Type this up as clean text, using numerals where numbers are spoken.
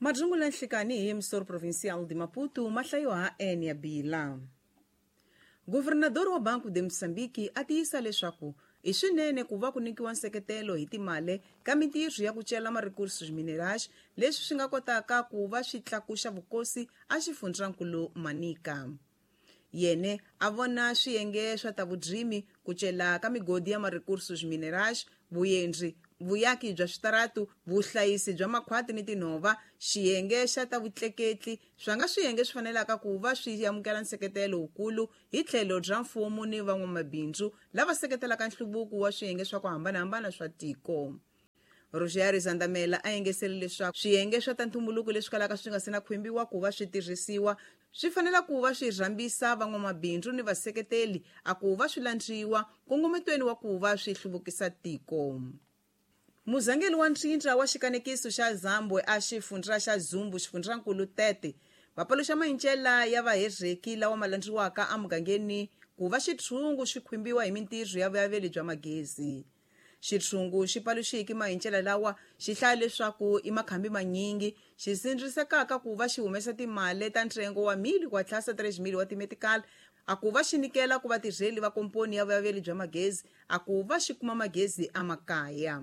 Madzungula nhlikani hi emissor provincial de Maputo ma hlayiwa ha N ya Bila. Governador wa Banco de Moçambique a tiyisa leswaku i swinene ku va ku nyikiwa nseketelo hi timale ka mintirho ya ku cela ma-recursos minerais leswi swi nga kotaka ku va swi tlakuxa vukosi a xifundzankulu Manica. Yene a vona swiyenge swa ta vurimi, ku cela ka migodi ya ma-recursos minerais, vuendzi, vuyaki bya switaratu, vuhlayisi bya makhwati ni tinhova, xiyenge xa ta vutleketli swa nga swiyenge swi fanelaka ku va swi amukela nseketelo wukulu hi tlhelo bya mfumo ni van'wamabindzu lava seketelaka nhluvuko wa swiyenge swa ku hambanahambana swa tiko. Rogério Zandamela a engesele leswaku swiyenge swa ta ntumbuluko leswi kalaka swi nga se na khwimbiwa ku va swi tirhisiwa swi fanela ku va swi rhambisa van'wamabindzu ni vaseketeli a ku va swi landziwa nkongometweni wa ku va swi hluvukisa tiko. Muzangeli wa ntsindza wa xikanekiso xa Zambwe a xifundza xa Zumbu xifundzankulu Tete va paluxa mayincela ya vaherheki lawa ma landziwaka emugangeni ku va xitshungu xi khwimbiwa hi mintirho ya vuyaveli bya magezi. Xitshungu xi paluxiki mayincela lawa xi hlaya leswaku i makhambi manyingi xi sindzisekaka ku va xi humesa timali ta ntsengo wa 1.430 wa timetical a ku va xi nyikela ku vatirheli va komponi ya vuyaveli bya magezi a ku va xi kuma magezi emakaya.